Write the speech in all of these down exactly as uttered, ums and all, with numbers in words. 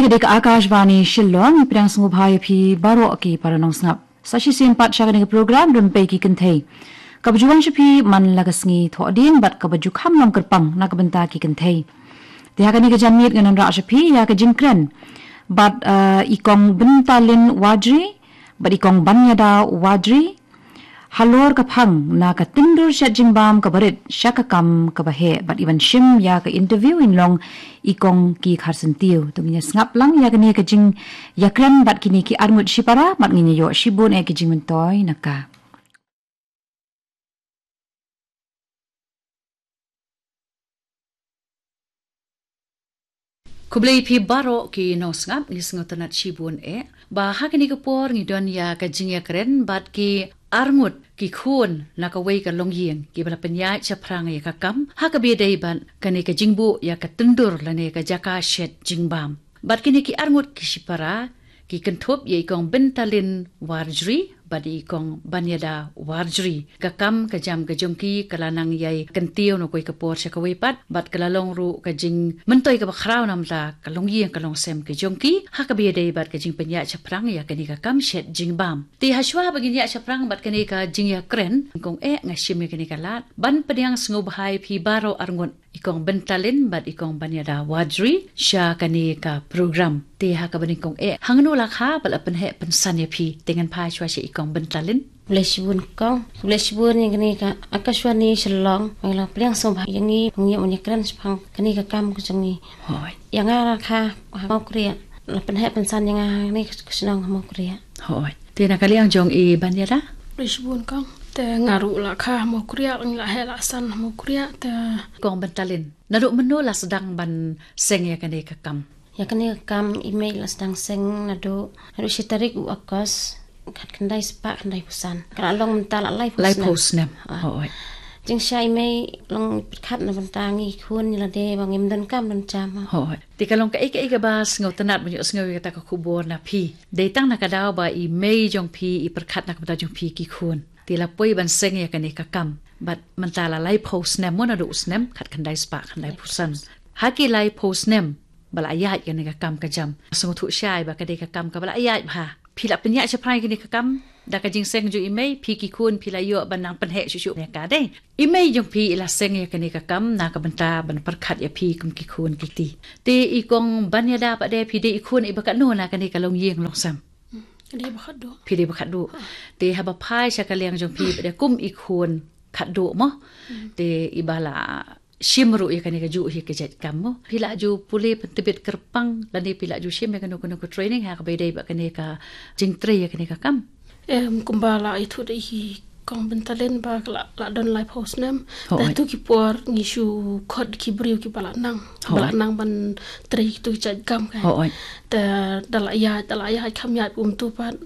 Ka dei ka Akashvani Shillong, ngi pdiang sngewbha ïa phi baroh ki para nongsngap. Sa shisien pat sha kane ka program Rympei ki Kynthei, kaba ju wan sha phi man la ka sngi Thohdieng bad kaba ju kham long kyrpang na ka bynta ki kynthei. Te ha kane ka janmiet ngan wanrah sha phi ïa ka jingkren bad, eh, i Kong Byntalin Warjri bad i Kong Banyada Warjri halor ka phang na ka tyndur shet jingbam kaba rit sha ka kam kaba heh, bad i ban shim ïa ka interview in long i Kong Ki Kharsyntiew. To ngin ïa sngap lang ïa kane ka jingïakren bad kine ki arngut shipara, bad ngin ïa ïoh shibun eh ki jingmyntoi na ka. Khublei phi baroh ki nongsngap, ngi sngewtynnat shibun eh ba ha kane ka por ngi don ïa ka jingïakren bad ki arngut ki khun na kawei ka longïing kiba la pynïaid shaphrang ïa ka kam ha kaba ïadei bad kane ka jingbuh ïa ka tyndur lane ka jaka shet jingbam. Bad kine ki arngut ki shipara ki kynthup ïa i Kong Byntalin Warjri bad i Kong Banyada Warjri. Ka kam ka jam ka jong ki ka la nang ïai kyntiew na kawei ka por sha kawei pat, bad ka la long ruh ka jingmyntoi kaba khraw na bynta ka longïing ka longsem ka jong ki ha kaba ïadei bad ka jingpynïaid shaphrang ïa kane ka kam shet jingbam. Te hashwa ba ngin ïaid shaphrang bad kane ka jingïakren, kong eh, nga shim ïa kane ka lad ban pdiang sngewbha ïa phi baroh arngut, i Kong Byntalin bad i Kong Banyada Warjri, sha kane ka program. Te ha kaba nyngkong eh, hangno la kha ba la pynheh pynsan ïa phi? Te ngan phai shuwa sha i Kong Byntalin. Khublei shibun kong, khublei shibun ïa kane ka Akashvani Shillong, ba la pdiang sngewbha ïa ngi ban ïakren shaphang kane ka kam ka jong ngi. Hooid. Ïa nga la kha ha Mawkriah, la pynheh pynsan ïa nga ha kane ka shnong ha Mawkriah. Hooid. Te na ka liang jong i Banyada? Khublei shibun kong. Te nga ruh la kha ha Mawkriah, ngi la heh la san ha Mawkriah. Te Kong Byntalin, naduh mynno la sdang ban seng ïa kane ka kam? Ïa kane ka kam i mei la sdang seng naduh, naduh shi tarik u August, khatkhyndai spah khyndaiphew san. Ka la long mynta la laiphew snem. Laiphew snem. Ah. Hooid. Jingshai i mei long pyrkhat na bynta ngi khun ïa lade ba ngim donkam donkam. Hooid. Te ka long kaei kaei kaba sngewtynnat ban ïohsngew ïa kata ka khubor na phi, dei tang na ka daw ba i mei jong phi i pyrkhat na ka bynta jong phi ki khun. Te la poi ban seng ïa kane ka kam bad mynta la laiphew snem, mo, naduh u snem khatkhyndai spah khyndaiphew san. Ha ki laiphew snem ba la ïaid kane ka kam ka jam, sngewthuh shai ba ka dei ka kam kaba la ïaid bha. Phi la pynïaid shaphrang ïa kane ka kam da ka jingseng jong i mei, phi ki khun phi la ïoh ban nang pynheh shuh shuh ïa ka, dei? I mei jong phi i la seng ïa kane ka kam na ka bynta ban pyrkhat ïa phi kum ki khun ki kti. Te i Kong Banyada pat de, phi dei i khun iba katno na kane ka longïing longsem? Hmm, dei ba khatduh. Phi dei ba khatduh. Ha. Te haba phai sha ka liang jong phi pat de kum i khun khatduh, mo? Hmm. Te iba la shim ruh ïa kane kajuh hi ka jait kam, mo? Phi la ju pule pyntbit kyrpang lane phi la ju shim ïa kano kano ka training ha kaba ïadei bad kane ka jingtrei ïa kane ka kam? Em, kumba la ïathuh da i Kong Byntalin ba ka la, la don laiphew snem. Hooid. Te ha tu ki por ngi shu khot ki briew kiba la nang, ba la, hooid, nang ban trei tu ki jait kam, kan. Hooid. Te da la ïaid, da la ïaid kham ïaid um tu pat,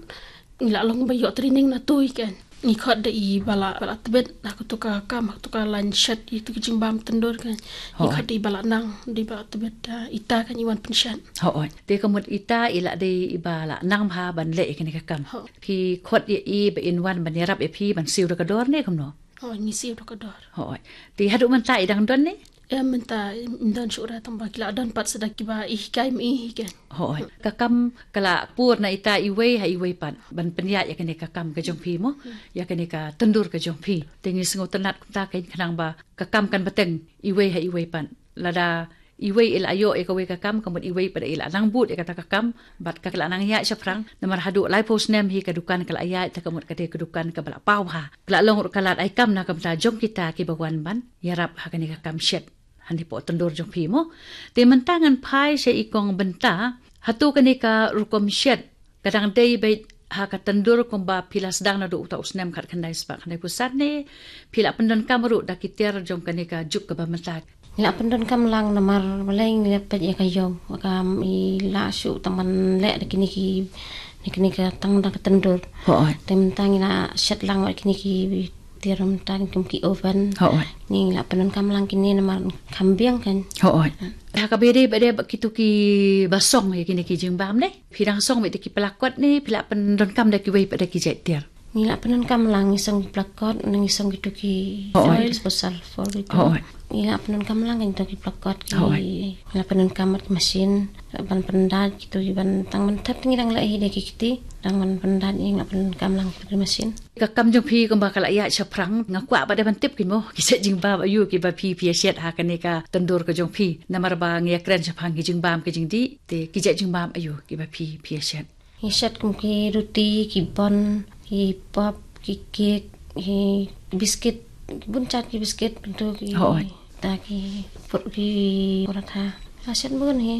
ngi la long ba ïoh training na tu hi, kan. Ngi khot da iba la, ba la tbit ha katu ka kam, ha katu ka lain shet, ïa tu ki jingbam tyndur, kan. Ngi, hooid, khot da iba la nang, da iba la tbit, ah, ita, kan, i wan pynshet. Hooid. Te ka mut ita i la dei iba la nang bha ban leh ïa kane ka kam. Hooid. Phi khot ïa i ba in wan ban ïarap ïa phi ban siew da ka dor ne kumno? Hooid, ngi siew da ka dor. Hooid. Te haduh mynta i dang don ne? Em, mynta im don shuh re, tang ba ki la don pat sa da kiba i hikai ma i hi, kan. Hooid. Ka kam ka la pur na ita iwei ha iwei pat ban pynïaid ïa kane ka kam ka jong phi, mo? Hmm. Ïa kane ka tyndur ka jong phi. Te ngi sngewtynnat kumta, kan, khnang ba ka kam kan bteng iwei ha iwei pat. Lada iwei i la ïoh ïa kawei ka kam, ka mut iwei pat i la nang bud ïa kata ka kam bad ka la nang ïaid shaphrang. Namar haduh laiphew snem hi ka dukan ka la ïaid, te ka mut ka dei ka dukan kaba la paw bha. Ka la long ruh ka lad ai kam na ka bynta jong kita kiba wan ban ïarap ha kane ka kam shet hapoh tyndur jong phi, mo? Te mynta ngan phai sha i Kong Bynta. Hato kane ka rukom shet ka dang dei beit ha ka tyndur kumba phi la sdang naduh uta u snem khatkhyndai spah khyndaiphew san ne phi la pyndonkam ruh da ki tiar jong kane ka juk kaba mynta? Ngi la pyndonkam lang namar balei ngi la peit ïa ka ïew, ka kam i la shu tang ban leh da kine ki, da kine ka tang da ka tyndur. Hooid. Te mynta ngi la shet lang wat kine ki tiar mynta kum ki oven. Hooid. Ngi la pyndonkam lang kine namar kham biang, kan. Hooid. Hmm. Ha kaba ïadei bad de bad kitu kiba song ïa kine ki jingbam ne, phi dang song beit da ki pla kot ne phi la pyndonkam da kiwei pat da ki jait tiar? Ngi la pyndonkam lang, ngi song ki pla kot, ngi song kitu ki, hooid, foil, disposal foil kitu. Hooid. Ngi la pyndonkam lang kitu ki pla kot, ki, hooid, ngi la pyndonkam bad ki machine. Ban pyndait kito ki ban tang ban thep, ngi dang leh hi da ki kti, dang ban pyndait ngi la pynkam lang ki masin. Ka kam jong phi kumba ka la ïaid shaphrang, nga kwah pat de ban tip kin mo, ki jait jingbam aiu kiba phi phi ïa shet ha kane ka tyndur ka jong phi. Namar ba ngi ïa kren shaphrang ki jingbam ki jingdih, te ki jait jingbam aiu kiba phi phi ïa shet. Ngi shet kum ki ruti, ki bun, ki pop, ki kek, ki biskit, ki bun jait ki biskit, bynta ki Hooid. ta ki pur ki paratha. Ngi shet bun hi.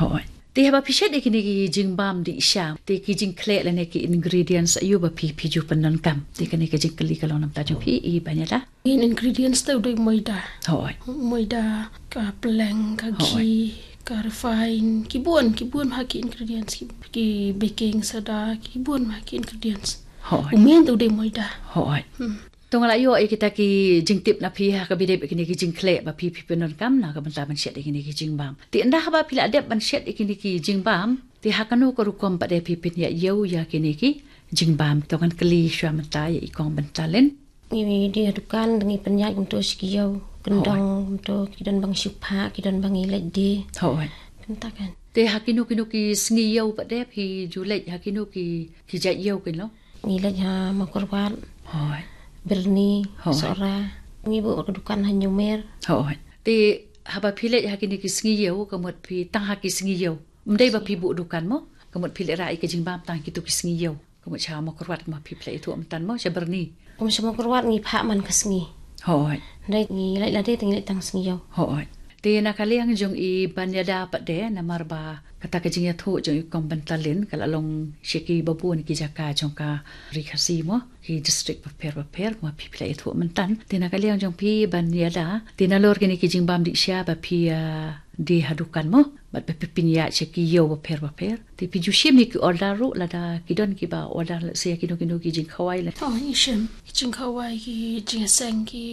Hooid. Te haba phi shet ïa kine ki jingbam dih sha, te ki jingkhleh lane ki ingredients aiu ba phi phi ju pyndonkam. Te kane ka jingkylli ka long na bynta jong phi i Banyada. Main ingredients te u dei maida. Hooid. Maida, ka pleng, ka Hooid. ghee, ka refine, ki bun, ki bun ha ki ingredients, ki, ki baking soda, ki bun ha ki ingredients. Hooid. U main te u dei maida. Hooid. Hmm. To nga la ïoh ïa kita ki jingtip na phi ha kaba ïadei bad kine ki jingkhleh ba phi phi pyndonkam na ka bynta ban shet ïa kine ki jingbam. Te ynda haba phi la dep ban shet ïa kine ki jingbam, te ha kano ka rukom pat de phi pynïaid ïew ïa kine ki jingbam? To ngan kylli shuwa mynta ïa i Kong Byntalin. Ngi dei ha dukan, ngi pynïaid kumto sha ki ïew, kyndong kumto, ki don ba ngi shu phah, ki don ba ngi leit die. Hooid. Kumta kan. Te ha kino kino ki sngi ïew pat de phi ju leit ha kino ki, ki jait ïew kin lo? Ngi leit ha Mawkyrwat, Hooid. Byrni, Hooid. Sohra. Ngi buh ka dukan ha Hynñiewmer. Hooid. Te haba phi leit ha kine ki sngi ïew, ka mut phi tang ha ki sngi ïew. Ym dei ba phi buh dukan mo? Ka mut phi leit rah ïa ki jingbam tang kito ki sngi ïew. Ka mut sha Mawkyrwat kumba phi phi la ïathuh mynta mo, sha Byrni. Kum sha Mawkyrwat ngi phah man ka sngi. Hooid. Dei ngi leit lade te ngi leit tang sngi ïew. Hooid. Te na ka liang jong i Banyada pat de, namar ba kata ka jingïathuh jong i Kong Byntalin ka la long sha kiba bun ki jaka jong ka Ri Khasi mo, ki district bapher bapher, kumba phi phi la ïathuh mynta. Te na ka liang jong phi Banyada, te nalor kine ki jingbam dih sha ba phi, ah, die ha dukan mo, bad ba phi pynïaid sha ki ïew bapher bapher. Te phi ju shim ïa ki order ruh lada ki don kiba order, let's say, kino kino ki jingkhawai la. Oh, ngi shim. Ki jingkhawai, ki jingïaseng, ki,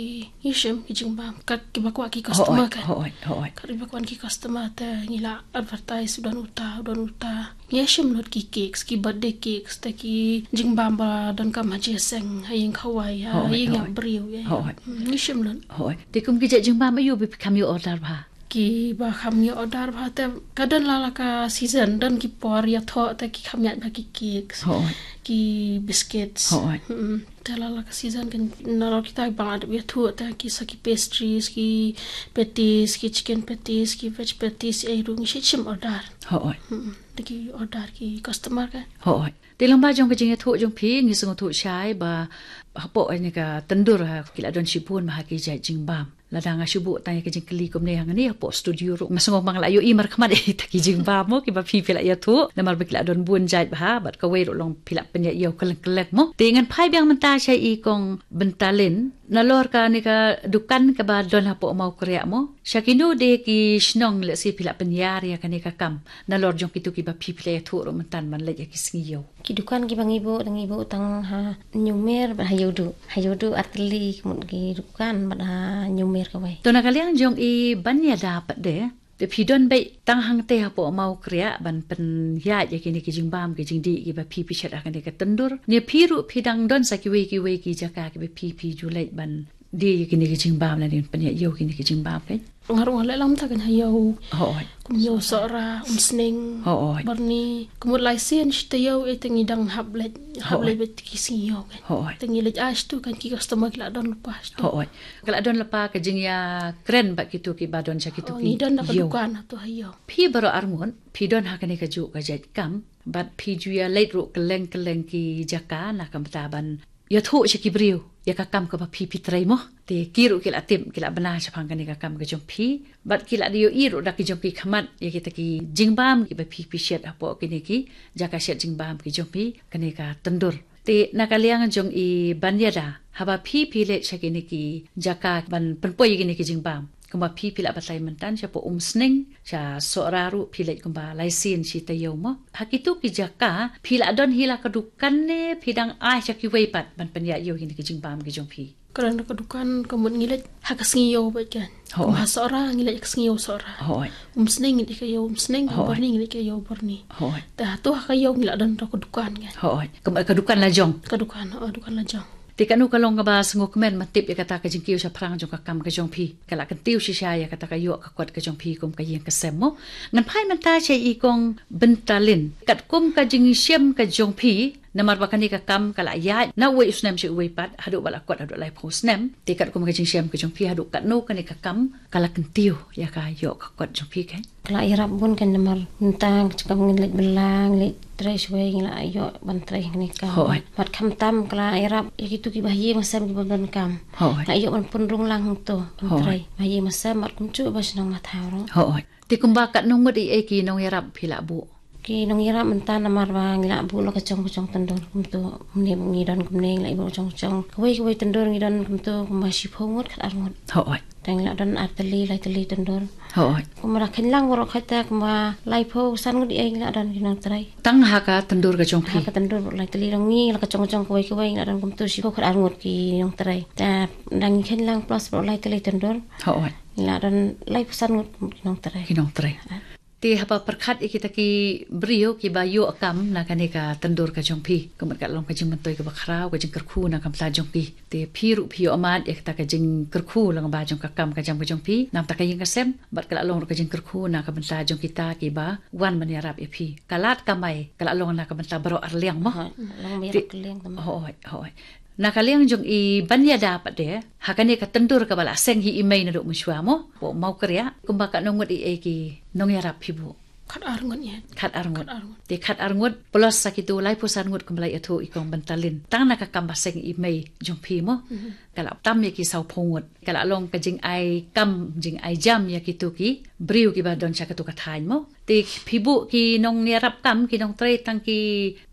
ngi shim ki jingbam. Kat kiba kwah ki customer Hooid, kan. hooid, hooid. Kat kiba kwah ki customer te ngi la advertise u don uta, u don uta. Ngi shim lut ki cakes, ki birthday cakes, te ki jingbam ba donkam ha jingïaseng, ha ïing khawai, ha Hooid, ïing ïap hooid. briew, ïa. Hooid. Hmm, ngi shim lut. Hooid. Te kum ki jait jingbam aiu ba phi kham ïoh order bha? Kiba kham ïoh order bha te ka don la la ka season, don ki por ïathoh te ki kham ïaid bha ki cakes, Hooid. ki biscuits. Hooid. Hmm. Te la la ka season kan nalor kita ba nga dep ïathuh te ki sa ki pastries, ki patties, ki chicken patties, ki veg patties, ei ruh ngi shim order. Hooid. Hmm. Te ki order ki customer kan. Hooid. Te lyngba jong ka jingïathuh jong phi ngi sngewthuh shai ba hapoh kane ka tyndur ha ki la don shibun bha ki jait jingbam. Lada nga shu buh tang ïa ka jingkylli kumne hangne hapoh studio ruh nga sngew ba nga la ïohi markhmat ïa kita ki jingbam mo kiba phi phi la ïathuh. Namar ba ki la don bun jait bha bad kawei ruh long phi la pynïaid ïew kylleng kylleng mo. Te ngan phai biang mynta sha i Kong Byntalin. Nalor kane ka dukan kaba don hapoh Mawkyrwat mo, sha kino de ki shnong lehse phi la pynïar ïa kane ka kam? Nalor jong kito kiba phi phi la ïathuh ruh mynta ban leit ïa ki sngi ïew. Ki dukan kiba ngi buh, ngi buh tang ha Hynñiewmer bad ha Ïewduh. Ha Ïewduh ar tylli ka mut ki dukan bad ha Hynñiewmer kawei. To na ka liang jong i Banyada pat de, te phi don beit tang hangtei hapoh Mawkyrwat ban pynïaid ïa kine ki jingbam ki jingdih kiba phi phi shet ha kane ka tyndur? Ne phi ruh phi dang don sa kiwei kiwei ki jaka kiba phi phi ju leit ban die ïa kine ki jingbam lane ban pynïaid ïew kine ki jingbam kan? Nga ruh nga leh lang mynta kan ha ïew. Hooid. Kum ïew Sohra, Umsning, Hooid. Byrni. Ka mut lai sien shi taïew, eh, te ngi dang hap leit, hap Hooid. leit beit ki sngi ïew kan. Hooid. Te ngi leit ai shatu kan, ki customer ki la don lypa shatu. Hooid. Ka la don lypa ka jingïakren bad kito kiba don sha kito Oh, ki ngi don da ka ïew. dukan hato ha ïew. Phi baroh arngut phi don ha kane kajuh ka jait kam bad phi ju ïa leit ruh kylleng kylleng ki jaka na ka bynta ban ïathuh sha ki briew ïa ka kam kaba phi phi trei mo. Te ki ruh ki la tip, ki la bna shaphang kane ka kam ka jong phi bad ki la ïohi ruh da ki jong ki khmat ïa kita ki jingbam kiba phi phi shet hapoh kine ki jaka shet jingbam ki jong phi, kane ka tyndur. Te na ka liang jong i Banyada, haba phi phi leit sha kine ki jaka ban pynpoi ïa kine ki jingbam, kumba phi phi la batai mynta shapoh Umsning, sha Sohra ruh phi leit kumba lai sien shi taïew mo. Ha kito ki jaka phi la don hi la ka dukan ne phi dang ai sha kiwei pat ban pynïaid ïew ïa kine ki jingbam ki jong phi? Ka don ka dukan, ka mut ngi leit ha ka sngi ïew beit kan. Hooid. Kum ha Sohra ngi leit ha ka sngi ïew Sohra. Hooid. Umsning ngi leit ka ïew Umsning, Hooid. Byrni ngi leit ka ïew Byrni. Hooid. Te hato ha ka ïew ngi la don ka dukan kan. Hooid. Ka, ka dukan la jong. Ka dukan, oh, dukan la jong. Te kano ka long kaba sngewkmen ban tip ïa kata ka jingkiew shaphrang jong ka kam ka jong phi, ka la kyntiew shisha ïa kata ka ïoh ka kot ka jong phi kum ka ïing ka sem mo. Ngan phai mynta sha i kong Byntalin, katkum ka jingshem ka jong phi, namar ba kane ka kam ka la ïaid na uwei u snem sha uwei pat, haduh ba la kot haduh laiphew snem. Te katkum ka jingshem ka jong phi, haduh katno kane ka kam ka la kyntiew ïa ka ïoh ka kot jong phi kein? Ka la ïarap bun kein, namar mynta ka jingkam ngi leit bylla, ngi leit trei shawei, ngi la ïoh ban trei kane ka kam. Hooid. Bad khamtam ka la ïarap ïa kitu kiba ha ïing ha sem kiba don kam. Hooid. La ïoh ban pynrung lang hangto ban Hooid. Trei. Ba ha ïing ha sem bad kumjuh ba shnong ba thaw ruh. Hooid. Te kumba katno ngut i ei ki nongïarap phi la buh? Ki nongïarap mynta namar ba ngi la buh la ka jong ka jong tyndur kumto. Mynne ngi don kumne ngi la buh jong jong. Kawei kawei tyndur ngi don kumto kumba shiphew ngut khatar ngut. Hooid. Te ngi la don ar tylli lai tylli tyndur. Hooid. Kumba la kheiñ lang baroh kata kumba laiphew san ngut i ei ngi la don ki nongtrei. Tang ha ka tyndur ka jong phi? Ha ka tyndur baroh lai tylli, la ngi la ka jong ka jong kawei kawei ngi la don kumto shiphew khatar ngut ki nongtrei. Te dang ngi kheiñ lang plus baroh lai tylli tyndur. Hooid. Ngi la don laiphew san ngut ki nongtrei. Ki nongtrei. Ah. Te haba pyrkhat ïa kita ki briew kiba ïoh kam na kane ka tyndur ka jong phi, ka mut ka long ka jingmyntoi kaba khraw, ka jingkyrkhu na ka bynta jong ki. Te phi ruh phi ïoh mad ïa kata ka jingkyrkhu lyngba jong ka kam ka jam ka jong phi, na bynta ka ïing ka sem, bad ka la long ruh ka jingkyrkhu na ka bynta jong kita kiba wan ban ïarap ïa phi. Ka lad kamai ka la long na ka bynta baroh ar liang mo. Hooid, long baroh ar liang tama. Hooid, hooid. Na ka liang jong i Banyada pat de, ha kane ka tyndur kaba la seng hi i mei naduh mynshuwa mo, hapoh Mawkyrïah, kumba katno ngut i ei ki nongïarap phi buh? Khatar ngut ïa. Khatar ngut. Khatar ngut. Te khatar ngut plus sa kitu laiphew san ngut kumba la ïathuh i kong Byntalin. Tang na ka kam ba seng i mei jong phi mo. Mhm. Ka la tam ïa ki sawphew ngut. Ka la long ka jingai kam, jingai jam ïa kitu ki briew kiba don sha katu ka thaiñ mo. Te phi buh ki nongïarap kam, ki nongtrei tang ki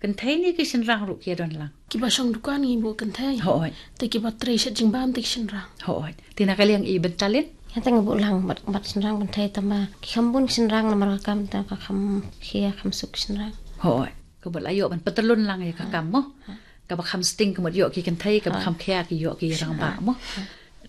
kynthei ne ki shynrang ruh ki ïa don lang? Kiba shong dukan ngi buh kynthei. Hooid. Te kiba trei shet jingbam te ki shynrang. Hooid. Te na ka liang i Byntalin? Ïa te ngi buh lang bad, bad shynrang kynthei tama ki kham bun ki shynrang namar ka kam ta ka kham khia kham suk ki shynrang. Hooid. Ka mut la ïoh ban pyntyllun lang ïa ka kam mo. Kaba kham sting ka mut ïoh ki kynthei, kaba kham khia ki ïoh ki rangbah mo.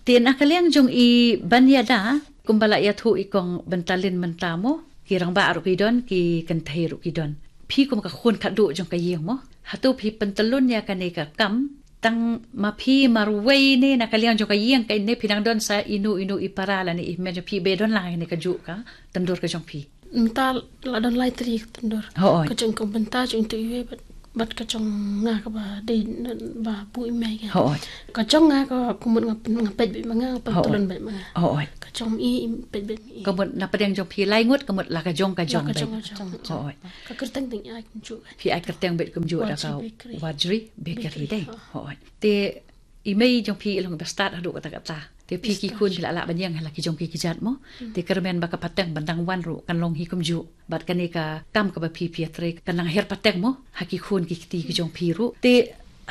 Te na ka liang jong i Banyada, kumba la ïathuh i kong Byntalin mynta mo, ki rangbah ruh ki don, ki kynthei ruh ki don. Phi kum ka khun khatduh jong ka ïing mo. Hato phi pyntyllun ïa kane ka kam, tang ma phi marwei ne na ka liang jong ka ïing ka ne phi dang don sa inu inu i para lane i hynmen jong phi ba don lang ïa kane kajuh ka tyndur ka jong phi? Mynta la don lai tylli ka tyndur. Hooid. Ka jong kong Bynta jong tu iwei bad, bad ka jong nga kaba dei ba buh i mei ka. Hooid. Ka jong nga ka kumut nga pyn-, nga peit beit ma nga, nga pyntyllun beit ma nga. Hooid. Ka jong i, i peit beit ma i. Ka mut na pdeng jong phi lai ngut, ka mut la ka jong ka jong beit. La ka jong ka jong. Hooid. Ka kyrteng dang ai kumjuh. Phi ai kyrteng beit kumjuh da ka Wajri Bakery. Wajri Bakery dei. Hooid. Te i mei jong phi i long ba stad haduh katta katta. Te phi ki khun phi la lah ban ïeng ha la ki jong ki kjat mo. Te kyrmen ba ka pateng ban dang wan ruh kan long hi kumjuh. Bad kane ka kam kaba phi phi ïatrei kan nang her pateng mo ha ki khun ki kti ki jong phi ruh. Te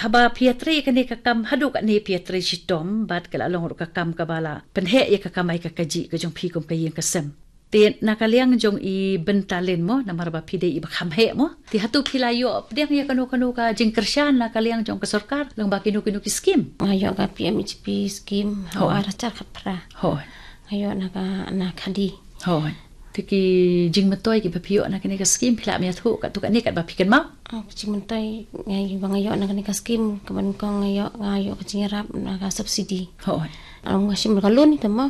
haba phi ïatrei kane ka kam haduh kane phi ïatrei shitom bad ka la long ruh ka kam kaba la pynheh ïa ka kamai ka kajih ka jong phi kum ka ïing ka sem. Te na ka liang jong i Byntalin mo, namar ba phi dei i ba kham heh mo. Te hato phi la ïoh pdiang ïa kano kano ka jingkyrshan na ka liang jong ka sorkar lyngba kino kino ki skim? Nga ïoh ka P M E G P skim, hooid, ha ar hajar khatphra. Hooid. Nga ïoh na ka, na khadi. Hooid. Te ki jingmyntoi kiba phi ïoh na kane ka skim phi lah ban ïathuh katto katne katba phi kynmaw? Oh, ka jingmyntoi nga ïoh, ba nga ïoh na kane ka skim, kaba nyngkong nga ïoh, nga ïoh ka jingïarap na ka subsidy. Hooid. Nga shim ka loan ita mo,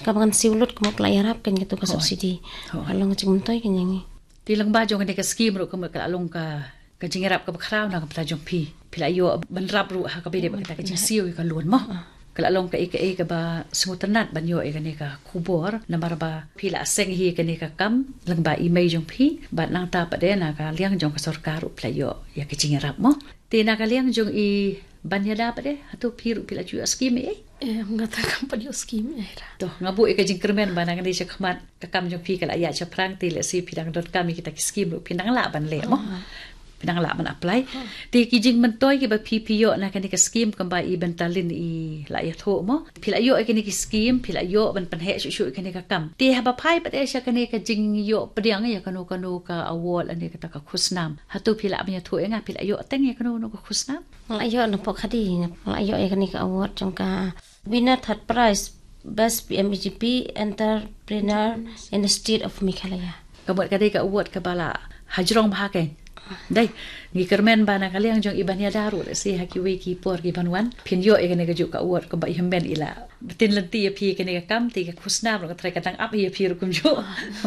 kaba ngan siew lut ka mut ka la ïarap kein kato ka subsidy. Hooid. Ka long ka jingmyntoi kein ïa ngi. Te lyngba jong kane ka skim ruh ka mut ka la long ka, ka jingïarap kaba khraw na ka bynta jong phi. Phi la ïoh ban rap ruh ha kaba ïadei bad kata ka jingsiew ïa ka loan mo. Ka la long kaei kaei kaba sngewtynnat ban ïoh ïa kane ka khubor namar ba phi la seng hi ïa kane ka kam lyngba i mei jong phi bad nangta pat de na ka liang jong ka sorkar ruh phi la ïoh ïa ka jingïarap mo. Te na ka liang jong i Banyada pat de, hato phi ruh phi la ju ïoh skim ei? Eh, nga ta kam pat ïoh skim ei ra. To, nga buh ïa ka jingkyrmen ba na ka dei shakhmat ka kam jong phi ka la ïaid shaphrang te lehse phi dang donkam ïa kita ki skim ruh phi nang lah ban leh mo. Phi nang lah ban apply. Te ki jingmyntoi kiba phi phi ïoh na kane ka skim kumba i Byntalin i la ïathuh mo. Phi la ïoh ïa kane ki skim, phi la ïoh ban pynheh shuh shuh ïa kane ka kam. Te haba phai pat de sha kane ka jingïoh pdiang ïa kano kano ka award lane kata ka khusnam. Hato phi lah ban ïathuh ïa nga phi la ïoh teng ïa kano kano ka khusnam? Nga la ïoh na pok khadi, nga la ïoh ïa kane ka award jong ka winner third prize Best P M E G P Entrepreneur in the State of Meghalaya. Ka mut ka dei ka award kaba la hajrong bha kein. Dei, ngi kyrmen ba na ka liang jong i ban ïada ruh, lehse ha kiwei ki por ki ban wan, phin ïoh ïa kane ka juk ka award kumba i hynmen i la btin lynti ïa phi ïa kane ka kam, te ka khusnam ruh ka trai ka dang ap ïa phi ruh kumjuh.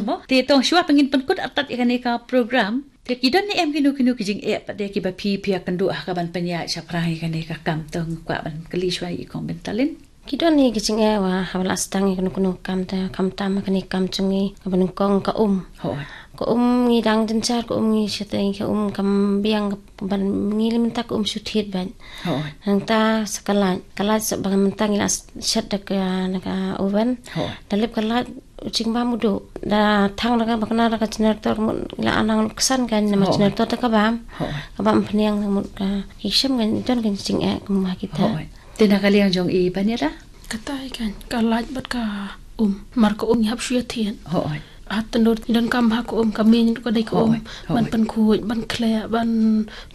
Mo? Te tang shuwa ba ngin pynkut artat ïa kane ka program, te ki don ne em kino kino ki jingeh pat de kiba phi phi ïakynduh ha ka ban pynïaid shaphrang ïa kane ka kam, tang kwah ban kylli shuwa ïa i Kong Byntalin. Ki don hi ki jingeh, wa haba la sdang ïa kano kano ka kam, te khamtam ha kane ka kam jong ngi kaba nyngkong ka um. Hooid. Ka um ngi dang jynjar, ka um ngi shatei, ka um kam biang, ban ngi leh mynta ka um shu thied bad. Hooid. Nangta sa ka light, ka light sa ba mynta ngi la shet da ka, na ka oven. Hooid. Da lip ka light, u jingbam u duh. Da thang da ka, ba kane da ka generator mut ngi la anang luksan kan, namar generator da ka bam. Hooid. Ka bam phniang mut ka, ki shem kan, don kan jingeh kum ha kita. Hooid. Te na ka liang jong i ban ïada? Katai kan, ka light bad ka um. Mar ka um ngi hap shu ïa thied. Hooid. Hat tyndur ngi donkam ha ka um, ka mih ruh ka dei ka um. Hooid, hooid. Ban pynkhuid, ban khleh, ban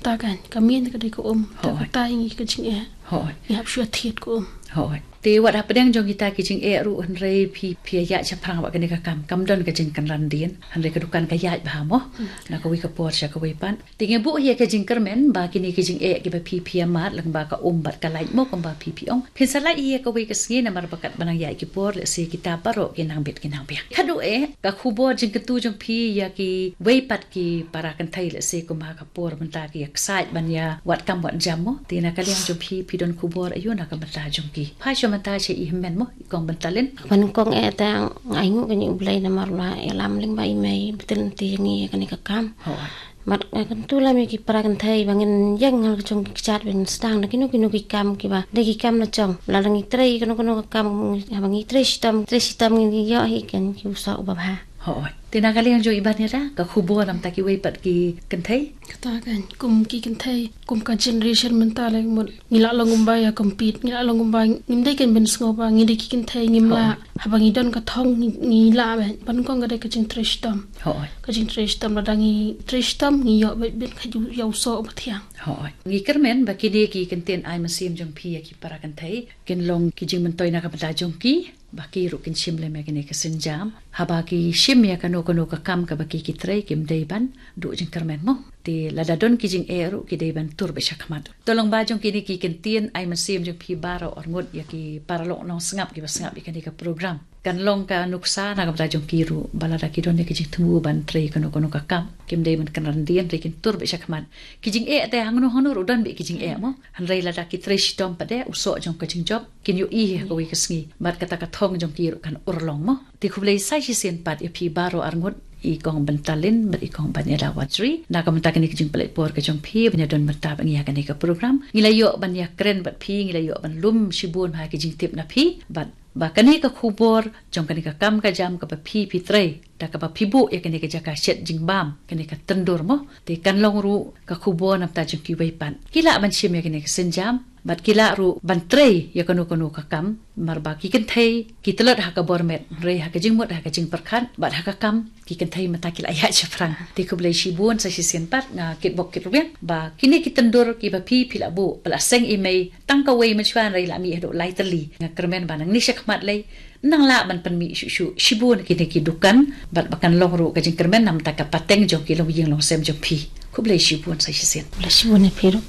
ta kan. Ka mih ka dei ka um. Te hooid. Katai ngi ka jingeh. Hooid. Ngi hap shu ïa thied ka um. Hooid. Te wat hapdeng jong kita ki jingeh ruh hynrei phi, phi ïaid shaphrang bad kane ka kam. Kam don ka jingkynran dien. Hynrei ka dukan ka ïaid bha mo. Hmm. Na kawei ka por sha kawei pat. Te ngi buh hi ïa ka jingkyrmen ba kine ki jingeh kiba phi phi ïa mad lyngba ka um bad ka light mo kumba phi phi ong. Phin sa lait hi ïa kawei ka sngi namar ba katba nang ïaid ki por lehse kita baroh ki nang bit ki nang biang. Khatduh eh ka khubor jingkyntu jong phi ïa kiwei pat ki para kynthei lehse kumba ka por mynta ki ïa ksaid ban ïa wad kam wad jam mo. Te na ka liang jong phi phi don khubor aïu na ka bynta jong ki? Phai shuwa mynta sha i hynmen mo, i Kong Byntalin. Ban kong eh te nga ainguh kane U Blei namar la ïalam lyngba i mei btin te ngi kane ka kam. Hooid. Bad nga kyntu lem ïa ki para kynthei ba ngin ïeng ha ka jong ki kjat ba ngin sdang da kino kino ki kam kiba dei ki kam la jong. Lada ngi trei kano kano ka kam, haba ngi trei shitom, trei shitom ngin ïoh hi kan ki u soh uba bha. Hooid. Te na ka liang jong i ban ïada, ka khubor namta kiwei pat ki kynthei? Kata kan, kum ki kynthei, kum ka generation mynta lei mut ngi lah long kumba ïa compete, ngi lah long kumba ngim dei kan ban sngew ba ngi dei ki kynthei ngim lah. Hooid. Haba ngi don ka thong ngi, ngi lah ban, ban kong ka dei ka jingtrei shitom. Hooid. Ka jingtrei shitom, lada ngi trei shitom ngi ïoh beit beit ka ju ïa u soh uba thiang. Hooid. Ngi kyrmen ba kine ki kyntien ai mynsiem jong phi ïa ki para kynthei kin long ki jingmyntoi na ka bynta jong ki, ba ki ruh kin shim lem ïa kane ka sienjam. Haba ki shim ïa kano kano ka kam kaba ki ki trei kim dei ban duh jingkyrmen mo. Te lada don ki jingeh ruh ki dei ban tur beit shakhmat. To lyngba jong kine ki kyntien ai mynsiem jong phi baroh arngut ïa ki paralok nongsngap kiba sngap ïa kane ka program. Kan long ka nuksa na ka bynta jong ki ruh ba lada ki don ïa ki jingthmu ban trei kano kano ka kam, kim dei ban kynran dien, hynrei kin tur beit shakhmat. Ki jingeh te hangno hangno ruh don beit ki jingeh mo. Hynrei lada ki trei shitom pat de u soh jong ka jingjop kin ïohi ha kawei ka sngi. Bad kata ka thong jong ki ruh kan urlong mo. Te khublei sa shisien pat ïa phi baroh arngut, i Kong Byntalin bad i Kong Banyada Watri, na ka bynta kane ka jingpynleit por ka jong phi ban ïadon bynta bad ngi ha kane ka program. Ngi la ïoh ban ïakren bad phi, ngi la ïoh ban lum shibun ha ki jingtip na phi. Bad ba kane ka khubor jong kane ka kam ka jam kaba phi phi trei, da kaba phi buh ïa kane ka jaka shet jingbam, kane ka tyndur mo. Te kan long ruh ka khubor namta jong kiwei pat. Ki lah ban shim ïa kane ka sienjam bad ki lah ruh ban trei ïa kano kano ka kam. Namar ba ki kynthei ki tlot ha ka bor met, hynrei ha ka jingmut, ha ka jingpyrkhat bad ha ka kam, ki kynthei mynta ki la ïaid shaphrang. Te khublei shibun sa shisien pat, nga kitbok kitrwiang ba kine ki tyndur kiba phi phi la buh, ba la seng i mei tang kawei mynshuwa hynrei la mih haduh lai tylli. Nga kyrmen ba nangne shakhmat lei nang lah ban pynmih shuh shuh. Shibun kine ki dukan bad ba kan long ruh ka jingkyrmen namta ka pateng jong ki longïing longsem jong phi. Khublei shibun sa shisien. Khublei shibun ïa phi ruh.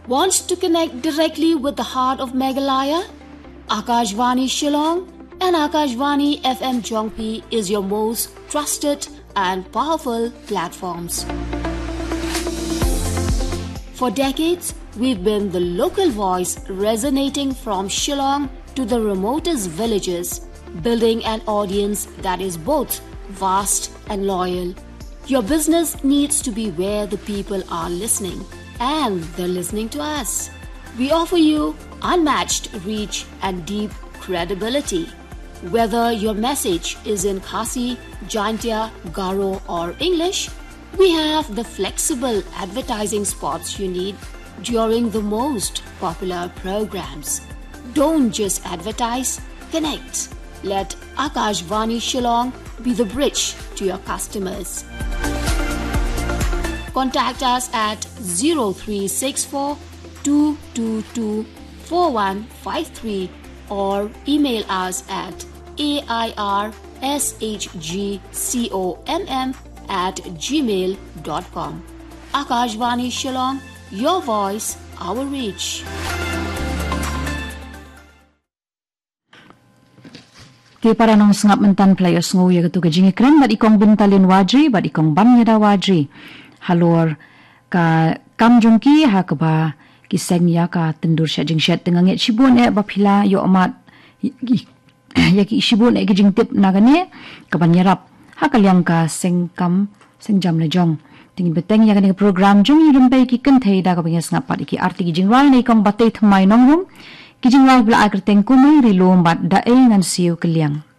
Want to connect directly with the heart of Meghalaya? Akashvani Shillong and Akashvani F M Jongpi is your most trusted and powerful platforms. For decades, we've been the local voice resonating from Shillong to the remotest villages, building an audience that is both vast and loyal. Your business needs to be where the people are listening, and they're listening to us. We offer you unmatched reach and deep credibility. Whether your message is in Khasi, Jaintia, Garo, or English, we have the flexible advertising spots you need during the most popular programs. Don't just advertise, connect. Let Akashvani Shillong be the bridge to your customers. Contact us at zero three six four two two two four one five three or email us at A I R S H G C O M M at gmail dot com. Akashvani Shillong, your voice, our reach. Te para nongsngap, mynta phi la ïohsngew ïa katu ka jingïakren bad i Kong Bintalin Wajri bad i Kong Bamyada Wajri halor ka kam jong ki ha kaba ki seng ïa ka tyndur shet jingshet. Te nga ngeit shibun eh ba phi la ïoh mad ïa ki shibun eh ki jingtip na kane kaban ïarap ha ka liang ka seng kam seng jam la jong. Te ngin bteng ïa kane ka program jong ngi rympei ki kynthei da kaba ngi sngap pat ïa ki artylli ki jingrwai na i Kong Batei Thymmai Nongrum, ki jingrwai ba la ai kyrteng Kumne Ri Lum bad Da Ei Ngan Siew Kylliang.